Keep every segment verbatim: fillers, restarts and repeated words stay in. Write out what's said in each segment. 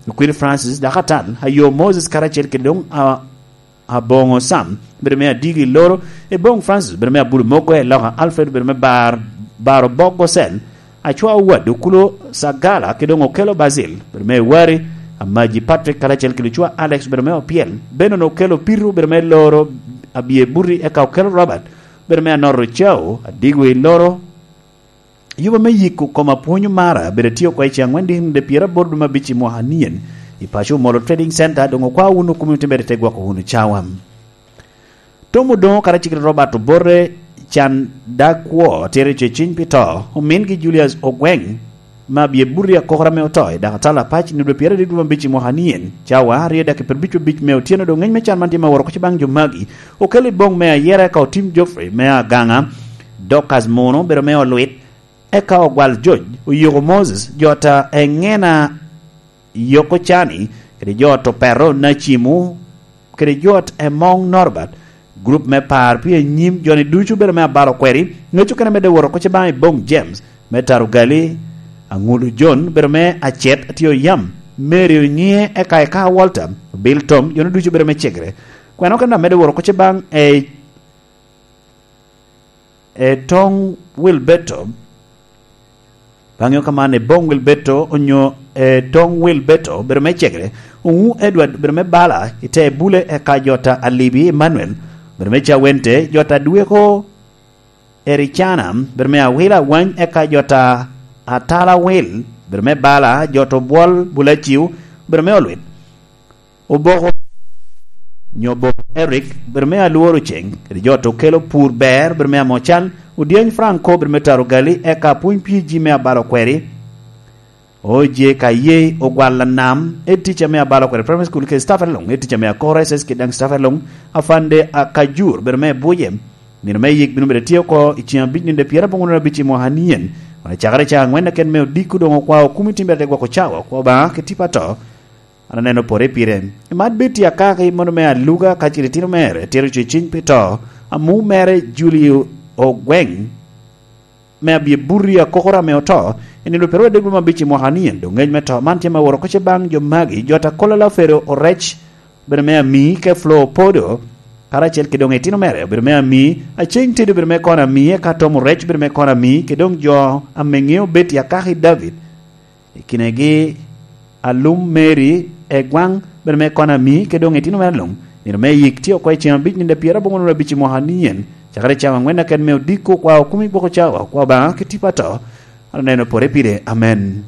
Okwiri Francis, dok atal, ayo Moses karacel kede doŋ a-, aboŋo Sam, bedo me adigi loro, eboŋ Francis, bedo me abulu mogo, eloka Alfred, bedo me bar-, baro bok Gosel, acwa owad okulo Sagala, kede doŋ okelo Basil, bedo me wari, amaji Patrick karacel kede ocwa Alex, bedo me opyel, Benon okelo pitu, bedo me loro abye buti, eka okelo Robert, bedo me anoro cao, adigo i loro, Yuba me yiko kom apwony omara, bedo atye oko i ceng angwen dikni de pyeraboro dwe me abic i mwaka nien, i paco Omolo Trading Center, doŋ okwao wunu komiti mere te gwoko wunu cawa. Tom Odoŋo karacel kede Robert Obote, can dag kwo, tito ceciny pi to, omingi Julius Ogweng, me abye buti akokoro ame oto, i dakatala apac, i nino pyeraryo dwe me abic i mwaka nien, cawa aryo daki pyerabic abic me otyeno, doŋ ŋeny me can man tye me woro koc baŋ jo magi, okel i boŋ me ayera ka otim Geoffrey me agaŋa, Dorcas Muno, bedo me olwit, Eka ogwal Joc, oyiko Moses, jota eŋena yoko cani, kede jot opeto Nacimo, kede jot emoŋ Norbert, grup me par pi anyim joni ducu bedo me abalo kweri, ŋec okene medde woro koc baŋ i boŋ James, me Tarugali, Aŋulu John bedo me acet atye oyam, Mary Onyiŋe eka eka Walter, Bill Tom, joni ducu bedo me cegere. Kwena okene amedde woro koc baŋ e Etoŋ Wilberto, baŋ yo ka man, Eboŋ Wilberto onyo Etoŋ Wilberto, bedo me cegere, Oŋu Edward, bedo me bala, i te bule, eka jota Alibi Emmanuel, bedo me Cawente, jota Dweko Ericana, bedo me Awila Awany, eka jota Atala Wil, bedo me bala, jota Obwol Bulaciw, bedo me Olwit. Oboko, nyo Oboko Eric, bedo me Alworo Ceng, kede jot okelo pur ber, bedo me Amocal, Odyeny Franco, bedo me Tarugali, eka Pwony P G me Abalo Kweri, Oje ka ye Ogwal Anam, Ed Teacher me Abalo Kweri Primary School, kede staff along, Ed Teacher me Akor S S kede daŋ staff along, Afande Akajur, bedo me Buje, nino me yik bino bedo tye oko i ceng abic nino de pyeraboro nino abic i mwaka nien, kun acakere ca angwen aken me odiko doŋ okwao kumi timbere te gwoko cawa, kwa Obaŋa ki tipo ato, An aneno pore pire. I man Betty Akaki, mono me Aluga, kacel itino mere, tito ceciny pi to, amu mere Julie Ogweng, me abye buti akokoro ame oto, i nino pyeraryo adek dwe me abic i mwaka nien, doŋ ŋec me to man tye me woro koc baŋ jo magi, jot Akola Lafero Orec, bedo me Ami, ke Flo Opodo, karacel kede doŋ itino mere, obedo me Ami, Aceng Teddy obedo me kono Ami, eka Tom Orec obedo me kono Ami, kede doŋ jo ame ŋeo Betty Akaki David, I kinegi alum Mary Egwaŋ, bedo me kono Ami, kede doŋ itino mere luŋ. Nino me yik tye oko i ceng abic nino pyeraboro nino abic i mwaka nien, cakere cawa angwen aken me odiko, kwa okumi gwoko cawa, kwa Obaŋa ki tipo ato. An aneno pore pire. Amen.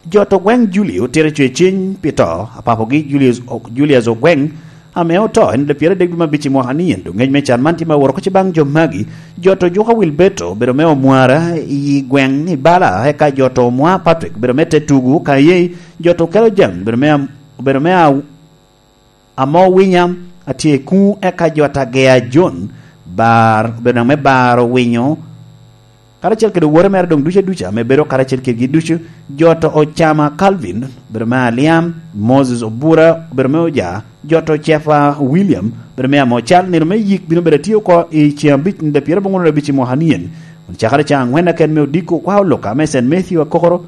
Jot Ogweng Julie otito ceciny pi to, apapogi Julius, Julius Ogweng, ame oto en de pyeraryo adek dwe me abic i mwaka nien, doŋ ŋec me can man tye me woro koc baŋ jo magi, jot Ojuka Wilberto, obedo me Omwara i gweŋ i Bala, eka jot Omwa Patrick, obedo me Tetugu, ka ye jot Okelo Jaŋ, obedo me Am-, obedo me A-, Amo Winya, atye i kuŋ, eka jot Agea John, bar, obedo daŋ me baro winyo, karacel kede owote mere doŋ ducu aduca ame bedo karacel kedgi ducu, jot Ocama Calvin, bedo me Aliam, Moses Obura, bedo me Oja, jot Ocefa William, bedo me Amocal, nino me yik bino bedo atye oko i ceng abic nino pyeraboro nino abic i mwaka nien, kun cakere ca angwen aken me odiko kwa oloka me Saint Matthew Akokoro,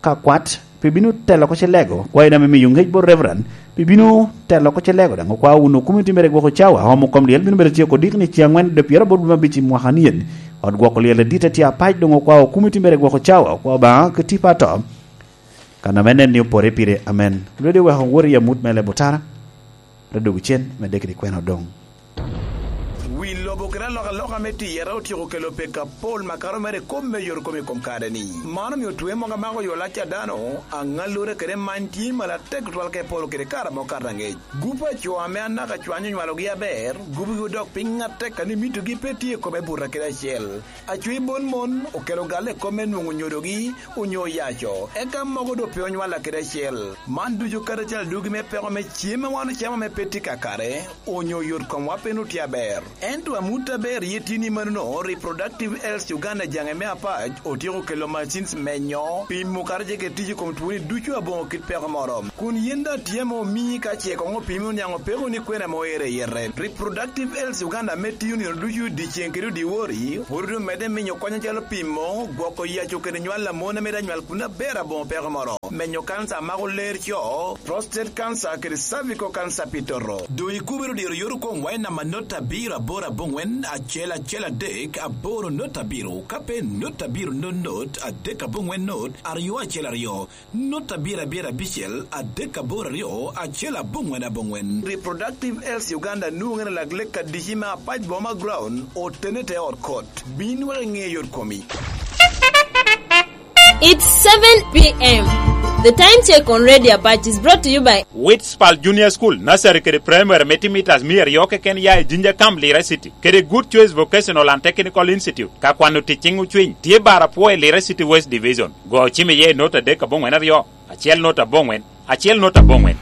ka kwat, pi bino telo oko ce lego, kwayi daŋ me miyo ŋec bot Reverend, pi bino telo oko ce lego daŋ, okwao wunu komiti mere gwoko cawa, omo kom lyel bino bedo tye oko dikni ceng angwen de pyeraboro dwe me abic i mwaka nien. Ot gwoko lyel adit atye apac doŋ okwao komiti mere gwoko cawa, okwao Obaŋa ki tipo ato. Kan ame nen ni opore pire, amen. Lwedi oweko wot i amut me lebo tara. Te dwogo cen, medde kede kwena odoŋ. Wi lobo kede alokaloka me tiyere otyeko kelo peko apol makato mere i kop me yot kom i kom kare-ni. Man omio twe mogo amako yo lac a dano, aŋallure kede many tye malatek tutwal ka epolo kede kare amo kato aŋec. Gup a co ame anaka cwany onywalogi aber, gupgi odok piny atek, kadi mitogi pe tye i kome buto kede acel. Acwi bon mon okelo galle i kop me nwoŋo nyodogi onyo oyaco, eka mogo doŋ pe onywalla kede acel. Man ducu kadi acel adugi me peko me cem a wan ocamo ame pe tye kakare, onyo yot komwa pe nwoŋo tye aber. Ento amut aber ye tye ni manono, Reproductive Health Uganda jaŋe me apac otyeko kelo machines menyo, pimo kadi ce kede tic i kom twoni ducu aboŋo kit peko moro. Kun yin daŋ tye ame omii ka ce koŋ opimi oniaŋ opeko ni kwene ame oero i yete. Reproductive Health Uganda ame tiyo nino ducu dyeceŋ kede odiwori, pwod omedde minyo kony acalo pimo, gwoko yaco kede nywal a mon a mito anywal kun aber aboŋo peko moro. Menyo kansa a mako ler co, prostate cancer kede cervical cancer pi toto. Doŋ ikubere dyero yot okoŋ wai namba not abiro aboro aboŋwen acel acel adek aboro not abiro, ka pe not abiro not not adek aboŋwen not aryo acel aryo, not abiro abiro abicel adek aboro aryo acel aboŋwen aboŋwen. Reproductive Health Uganda nwoŋere lak lek adici me Apac Boma Ground, otene te ot kot. Bin wek iŋe yot komi. It's seven p m. The time check on Radio Apac is brought to you by Witspal Junior School, Nursery kede Primary me timitas mia aryo keken ya i Jinja Camp, Lira City, kede Good Choice Vocational and Technical Institute. Ka kwano ticing ocwiny, tye bar apwo i Lira City West Division. Go cim iye i not adek aboŋwen aryo, acel not aboŋwen, acel not aboŋwen.